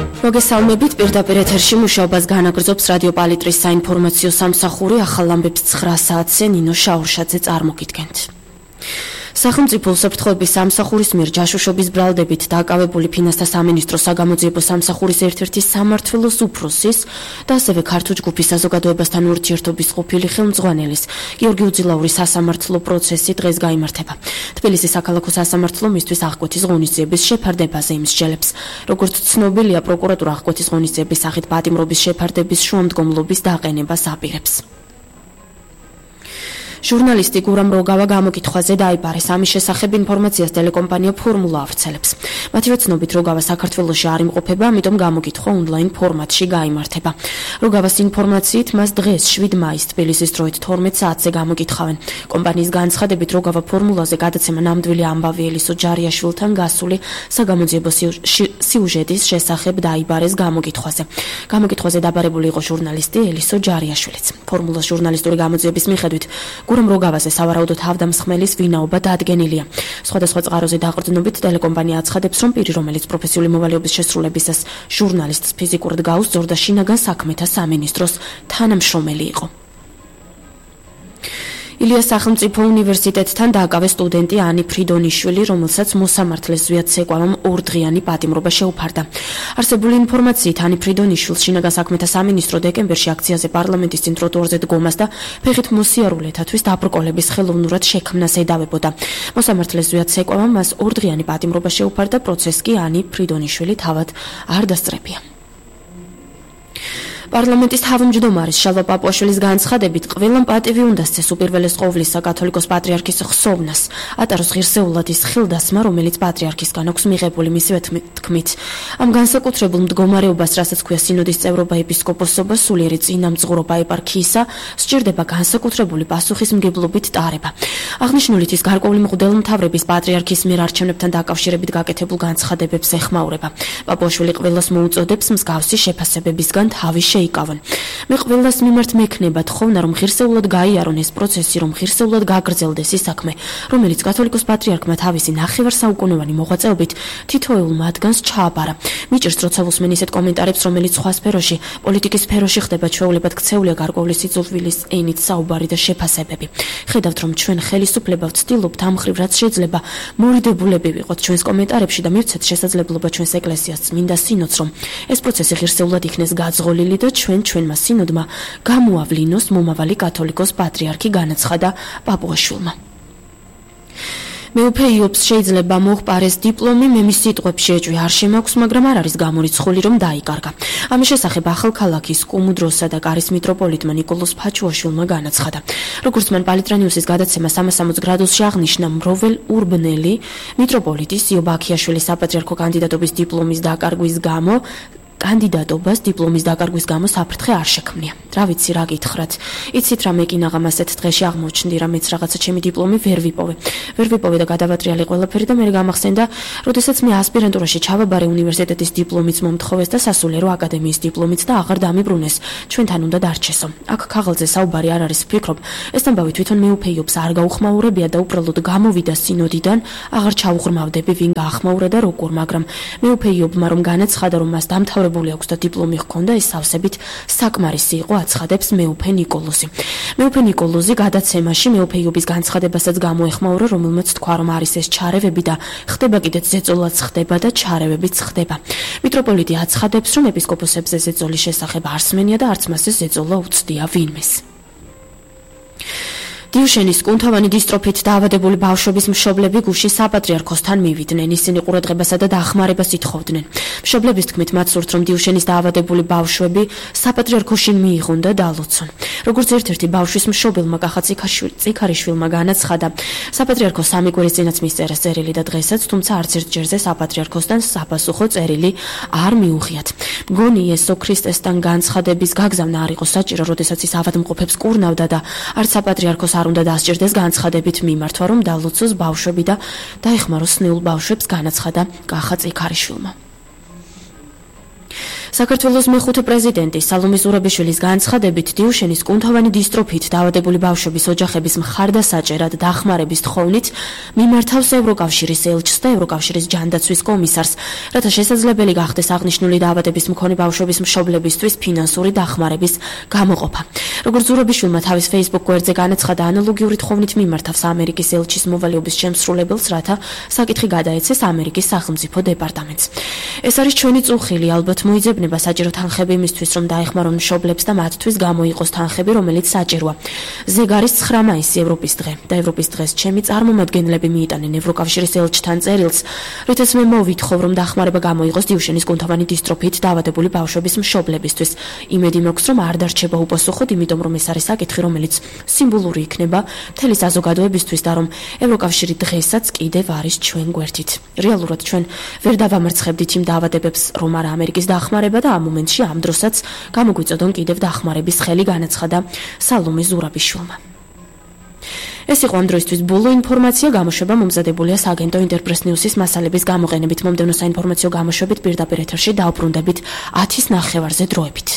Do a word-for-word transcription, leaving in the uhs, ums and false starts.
მოგესალმებით, პირდაპირ ეთერში მუშაობას განაგრძობს რადიო პალიტრის საინფორმაციო სამსახური. ახალ ამბებს ცხრა საათზე ნინო შაურშაძე წარმოგიდგენთ. სახელმწიფო უსაფრთხოების სამსახურის მიერ ჯაშუშობის ბრალდებით დაკავებული ფინანსთა სამინისტროს საგამოძიებო სამსახურის ერთ-ერთი სამმართველოს უფროსის და ასევე ქართულ ჯგუფის საზოგადოებასთან ურთიერთობის ყოფილი ხელმძღვანელის გიორგი უძილაურის სასამართლო პროცესი დღეს გაიმართება. თბილისის საქალაქო სასამართლო მისთვის აღკვეთის ღონისძიების შეფარდებაზე იმსჯელებს. როგორც ცნობილია, პროკურატურა აღკვეთის ღონისძიების სახით პატიმრობის შეფარდების შუამდგომლობის დაყენებას აპირებს. ჟურნალისტი გურამ როგავა გამოკითხვაზე დაიბარეს. ამის შესახებ ინფორმაციას ტელეკომპანია ფორმულა ავრცელებს. მათი ცნობით, როგავა საქართველოში არ იმყოფება, ამიტომ გამოკითხვა ონლაინ ფორმატში გაიმართება. როგავას ინფორმაციით, მას დღეს შვიდ მაისს თბილისის დროით თორმეტ საათზე გამოკითხავენ. კომპანიის განცხადებით, როგავა ფორმულაზე გადაცემა ნამდვილი ამბავი ელისო ჯარიაშვილთან გასული საგამოძიებო სიუჟეტის შესახებ დაიბარეს გამოკითხვაზე. გამოკითხვაზე დაბარებული იყო ჟურნალისტი ელისო ჯარიაშვილიც. ფორმულას ჟურნალისტური გამოძიების მიხედვით გურამ როგავაზე სავარაუდო თავდამსხმელის ვინაობა დადგენილია. სხვადასხვა წყაროზე დაყრდნობით ტელეკომპანია აცხადებს, რომ პირი, რომელიც პროფესიული მოვალეობის შესრულებისას ჟურნალისტს ფიზიკურად გაუსწორდა, შინაგან საქმეთა სამინისტროს თანამშრომელი იყო. ილიას სახელმწიფო უნივერსიტეტთან დააკავეს სტუდენტი ანი ფრიდონიშვილი, რომელსაც მოსამართლეს ზვიად ცეკვავამ ორდღიანი პატიმრობა შეუფარდა. არსებული ინფორმაციით, ანი ფრიდონიშვილს შინაგან საქმეთა სამინისტრო დეკემბერში აქციაზე პარლამენტის წინ ტროტუარზე დგომას და ფეხით მოსიარულეთათვის დაბრკოლების ხელოვნურად შექმნას ედავებოდა. მოსამართლეს ზვიად ცეკვავამ მას ორდღიანი პატიმრობა შეუფარდა, პროცესს კი ანი ფრიდონიშვილი თავად არ დასწრებია. პარლამენტის თავმჯდომარის შალვა პაპუაშვილის განცხადებით, ყველამ პატივი უნდა სცეს უპირველეს ყოვლისა კათოლიკოს პატრიარქის ხსოვნას, ატაროს ღირსეულად ის ხილდასმა, რომელიც პატრიარქისგან აქვს მიღებული. მისივე თქმით, ამ განსაკუთრებულ მდგომარეობას, რასაც ქვია სინოდის წევრობა, ეპისკოპოსობა, სულიერი წინამძღვრობა ეპარქიისა, სჭირდება განსაკუთრებული პასუხისმგებლობით ტარება. აღნიშნულით ის გარკვეული მღვდელმთავრების პატრიარქის მიერ არჩევნებთან დაკავშირებით გაკეთებულ განცხადებებს ეხმაურება. პაპუაშვილი ყველას მოუწოდებს მსგავსი შეფასებებისგან თავი იკავონ. მე ყველას მიმართ მექნება თხოვნა, რომ ღირსეულად გაიარონ ეს პროცესი, რომ ღირსეულად გაგრძელდეს ის საქმე, რომელიც კათოლიკოს პატრიარქმა თავისი ნახევარსაუკუნოვანი მოღვაწეობით თითოეულ მათგანს ჩააბარა. მიჭირს როცა უსმენ ისეთ კომენტარებს, რომელიც სხვა სფეროში, პოლიტიკის სფეროში ხდება, ჩვეულებად ქცეულია გარკვეული სიძულვილის ენით საუბარი და შეფასებები. ხედავთ, რომ ჩვენ ხელისუფლება ვცდილობთ ამ მხრივ, რაც შეიძლება მორიდებულები ვიყოთ ჩვენს კომენტარებში და მივცეთ შესაძლებლობა ჩვენს ეკლესიას წმინდა სინოდს, რომ ეს პროცესი ღირსეულად იქნეს გაძღოლილი და ჩვენ ჩვენმა სინოდმა გამოავლინოს მომავალი კათოლიკოს პატრიარქი, განაცხადა პაპუაშვილმა. მეუფე იობს შეიძლება მოჰყარეს დიპლომი, მე მის სიტყვებში ეჭვი არ შემაქვს, მაგრამ არ არის გამორიცხული, რომ დაიკარგა. ამის შესახებ ახალქალაქის კუმუდროსა და კარის მიტროპოლიტმა ნიკოლოზ ფაჩუაშვილმა განაცხადა. როგორც მან პალიტრანიუსის გადაცემა სამას სამოცი გრადუსში აღნიშნა, მროվել ურბნელი მიტროპოლიტის იობ აქიაშვილის საპატრიარქო კანდიდატობის დიპლომის დაკარგვის გამო კანდიდატობას დიპლომის დაკარგვის გამო საფრთხე არ შექმნია. რა ვიცი, რა გითხრათ. იცით რა მეკინაღამ ასეთ დღეში აღმოჩნდი, რა მეც რაღაცა ჩემი დიპლომი ვერ ვიპოვე. ვერ ვიპოვე და გადავატრიალე ყველაფერი და მე გამახსენდა, როდესაც მე ასპირანტურაში ჩავაბარე უნივერსიტეტის დიპლომიც მომთხოვეს და სასულიერო აკადემიის დიპლომიც და აღარ დამიბრუნეს. ჩვენთან უნდა დარჩესო. აქ ქაღალდზე საუბარი არ არის, ვფიქრობ, ეს ამბავი თვითონ მეუფე იობს არ გაუხმაურებია და უბრალოდ გამოვიდა სინოდიდან, აღარ ჩაუღრმავდები ვინ გაახმაურა და როგორ, მაგრამ მეუფე იობმა რომ განაცხადა, რომ მას დამთავრებული აქვს და დიპლომი ჰქონდა, ის სავსებით საკმარისი იყო, აცხადებს მეუფე ნიკოლოზი. მეუფე ნიკოლოზი გადაცემაში მეუფე იობის განცხადებასაც გამოეხმაურა, რომელმაც თქვა, რომ არის ეს ჩარევები და ხდება კიდეც ზეწოლაც ხდება და ჩარევებიც ხდება. მიტროპოლიტი აცხადებს, რომ ეპისკოპოსებზე ზეწოლის შესახებ არ სმენია და არც მას ეს ზეწოლა უცდია ვინმეს. დიუშენის კუნთოვანი დისტროფით დაავადებული ბავშვების მშობლები გუშინ საპატრიარქოსთან მივიდნენ. ისინი ყურადღებასა და დახმარებას ითხოვდნენ. მშობლების თქმით, მათ სურთ, რომ დიუშენის დაავადებული ბავშვები საპატრიარქოში მიიღონ და დალოცონ. როგორც ერთ-ერთი ბავშვის მშობელმა კახა წიქარიშვილმა განაცხადა, საპატრიარქოს სამი კვირის წინაც მისწერა წერილი და დღესაც, თუმცა არც ერთ ჯერზე საპატრიარქოსთან საპასუხო წერილი არ მიუღიათ. მგონი იესო ქრისტესთან განცხადების გაგზავნა არ იყო საჭირო, როდესაც ის ავადმყოფებს კურნავდა და არც საპატრიარქოს არ უნდა დასჭირდეს განცხადებით მიმართვა, რომ დალოცოს ბავშვები და დაეხმაროს ნეულ ბავშვებს, განაცხადა კახა წიქარიშვილმა. საქართველოს მეხუთე პრეზიდენტი სალომე ზურაბიშვილის განცხადებით დიუშენის კუნთოვანი დისტროფით დაავადებული ბავშვების ოჯახების მხარდასაჭერად დახმარების თხოვნით მიმართავს ევროკავშირის ელჩს და ევროკავშირის ჯანდაცვის კომისარს, რათა შესაძლებელი გახდეს აღნიშნული დაავადების მქონე ბავშვების მშობლებისთვის ფინანსური დახმარების გამოყოფა. როგორც ზურაბიშვილმა თავის Facebook გვერდზე განაცხადა, ანალოგიური თხოვნით მიმართავს ამერიკის ელჩის მოვალეობის შემსრულებელს, რათა საკითხი გადაეცეს ამერიკის სახელმწიფო დეპარტამენტს. ეს არის ჩვენი წუხილი, ალბათ მოიძებნება საჭირო თანხები იმისთვის, რომ დაეხმარონ მშობლებს და მათთვის გამოიყოს თანხები, რომელიც საჭიროა. ზეგ არის ცხრა მაისი ევროპის დღე და ევროპის დღეს ჩემი წარმომადგენლები მიიტანენ ევროკავშირის ელჩთან წერილს, რითაც მე მოვითხოვ, რომ დახმარება გამოიყოს დიუშენის კუნთოვანი დისტროფით დაავადებული ბავშვების მშობლებისთვის. იმედი მაქვს, რომ არ დარჩება უპასუხოდ, იმიტომ რომ ეს არის საკითხი, რომელიც სიმბოლური იქნება მთელი საზოგადოებისთვის და რომ ევროკავშირი დღესაც კიდევ არის ჩვენ გვერდით. რეალურად ჩვენ ვერ დავამარცხებდით იმ დაავადებებს, რომ არა ამერიკის დახმარება და ამ მომენტში ამ დროსაც გამოგვიწოდონ კიდევ დახმარების ხელი, განაცხადა სალომე ზურაბიშვილმა. ეს იყო ამ დროისთვის ბოლო ინფორმაცია, გამოშვება მომზადებულია სააგენტო ინტერპრეს ნიუსის მასალების გამოყენებით. მომდევნო საინფორმაციო გამოშვებით პირდაპირ ეთერში დავბრუნდებით ათის ნახევარზე დროებით.